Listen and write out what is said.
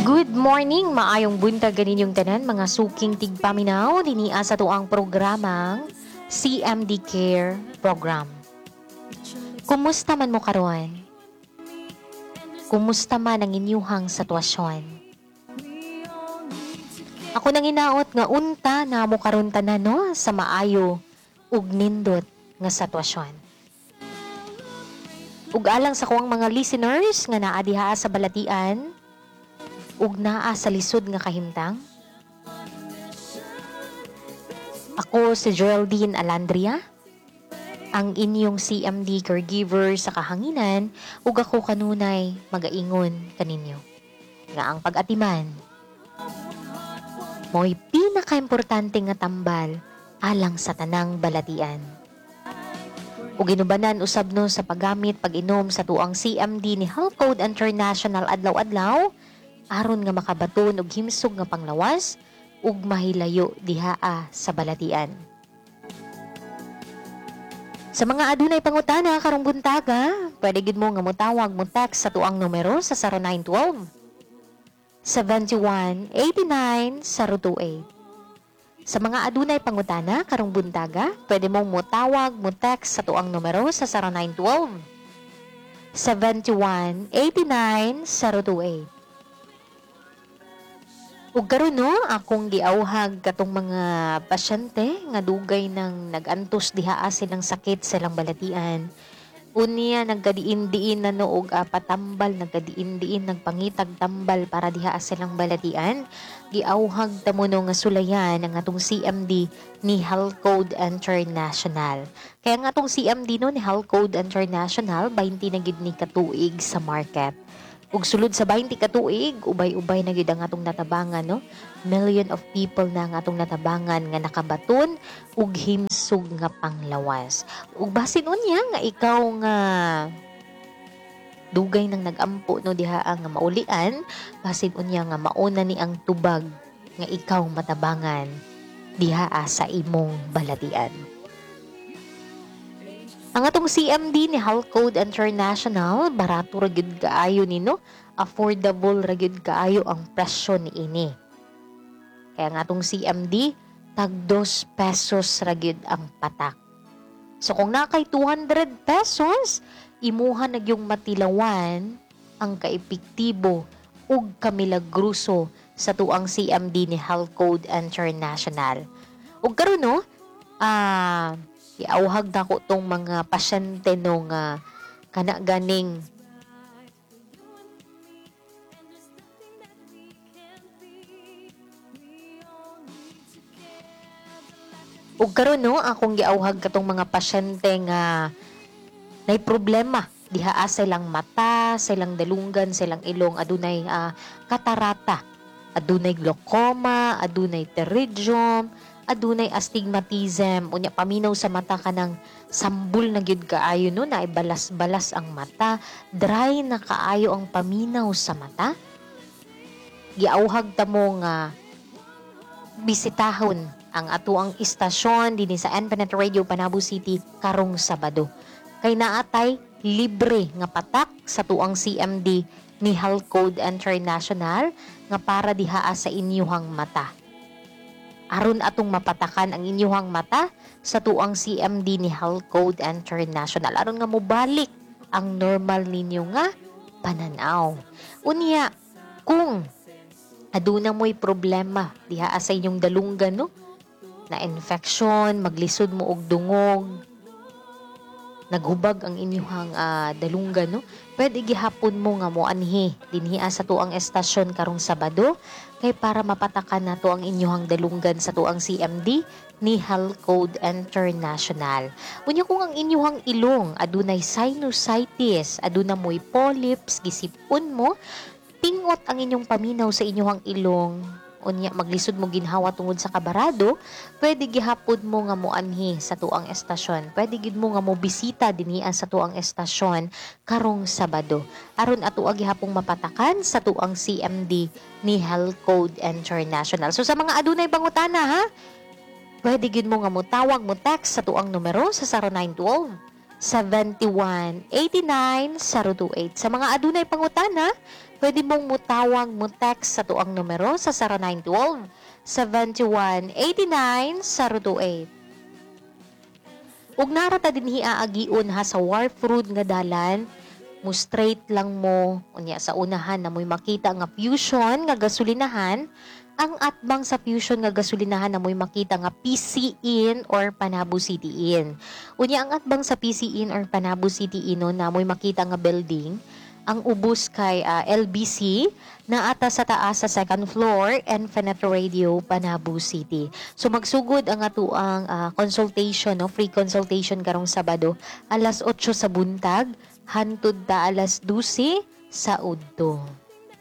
Good morning, maayong buntag kaninyong tanan, mga suking tigpaminaw dinhi sa atuang programang CMD Care Program. Kumusta man mo karon? Kumusta man ang inyuhang sitwasyon? Ako nang hinaot nga unta na mo karon tanan, no, sa maayo ug nindot nga sitwasyon. Ug alang sa kuang mga listeners nga naa diha sa balatian ug naa sa lisod nga kahimtang, ako si Geraldine Alandria, ang inyong CMD caregiver sa kahanginan, ug ako kanunay magaingon kaninyo nga ang pag-atiman mo'y pinakaimportante nga tambal alang sa tanang balatian. Ug ginubanan usab, no, sa paggamit, pag-inom sa tuang CMD ni Health Code International adlaw-adlaw aron nga makabaton og himsog nga panglawas ug mahilayo dihaa sa balatian. Sa mga adunay pangutana karong buntaga, pwede gid mo nga motawag, mo text sa tuang numero sa 0912 71 89 028. Sa mga adunay pangutana karong buntaga, pwede mong motawag, mo text sa tuang numero sa 0912 71 89 028. Ug karon, no, akong giawhag katong mga pasyente nga dugay nang nag-antos diha silang sakit sa ilang balatian. Unya nagkadiin-diin na, no, og patambal, nagkadiin-diin, nagpangitag tambal para diha silang balatian. Giawhag ta mo, no, nga sulayan ang atong CMD ni Health Code International. Kaya nga atong CMD, no, ni Health Code International, 20 na gid ni katuig sa market. Ug sulod sa 20 ka tuig, ubay-ubay na gyud ang atong natabangan, no? Million of people na ang atong natabangan nga nakabaton ug himsog nga panglawas. Ug basin unya nga ikaw nga dugay nang nagampo, no, diha nga maulian, basin unya nga mauna ni ang tubag nga ikaw matabangan diha sa imong balatian. Ang atong CMD ni Health Code International, barato ra gyud kaayo ni, no? Affordable ra gyud kaayo ang presyo niini. Kaya ang atong CMD, tag 2 pesos ra gyud ang patak. So kung naa kay 200 pesos, imuha na gyung matilawan ang kaepektibo ug kamilagruso sa tuang CMD ni Health Code International. Ug karon, no, iawhag nako tong mga pasyente, no, nga kana ganing ug karon, no, akong giawhag katong mga pasyente nga nay problema diha sa ilang mata, sa ilang dalunggan, sa ilang ilong, adunay katarata, adunay glaucoma, adunay pterygium, adunay astigmatism, unya paminaw sa mata kanang sambol na gyud kaayo, no, na balas-balas ang mata, dry na kaayo ang paminaw sa mata. Giawhag ta mo nga bisitahon ang atuang istasyon dinhi sa Infinite Radio Panabo City karong Sabado. Kay naatay libre nga patak sa tuang CMD ni Health Code International nga para dihaa sa inyuhang mata. Aron atong mapatakan ang inyuhang mata sa tuang CMD ni Health Code International aron nga mobalik ang normal ninyo nga pananaw. Unya, kung aduna mo'y problema diha sa inyong dalunggan, no, na infection, maglisod mo og dungog, naghubag ang inyuhang dalunggan, no, pwede gihapon mo nga moanhi dinhi sa tuang estasyon karong Sabado kay para mapatakan nato ang inyuhang dalunggan sa tuang CMD ni Health Code International. Unya kung ang inyuhang ilong adunay sinusitis, aduna mo'y polyps, gisipon mo, pingot ang inyong paminaw sa inyuhang ilong, unya maglisod mo ginhawa tungod sa kabarado, pwede gihapon mo nga moanhi sa tuang estasyon. Pwede gid mo nga mo bisita dinhi sa tuang estasyon karong Sabado aron ato gihapong mapatakan sa tuang CMD ni Health Code International. So sa mga adunay pangutana, ha, pwede gid mo nga motawag, mo text sa tuang numero sa 0912 71 89 028. Sa mga adunay pangutana, Pwede mong mutawag, mo text sa tuang numero sa 0912 71 89 028. Ug nara ta dinhi aagion ha sa Wharf Road nga dalan, mo straight lang mo unya sa unahan na mo'y makita nga Fusion nga gasolinahan. Ang atbang sa Fusion nga gasolinahan na mo'y makita nga PC Inn or Panabo City Inn. Unya ang atbang sa PC Inn or Panabo City Inn, no, na mo'y makita nga building. Ang ubos kay LBC na ata sa taas sa second floor, Infinite Radio Panabo City. So magsugod ang atuang consultation, no, free consultation karong Sabado alas 8 sa buntag hantud ta alas 12 sa udto.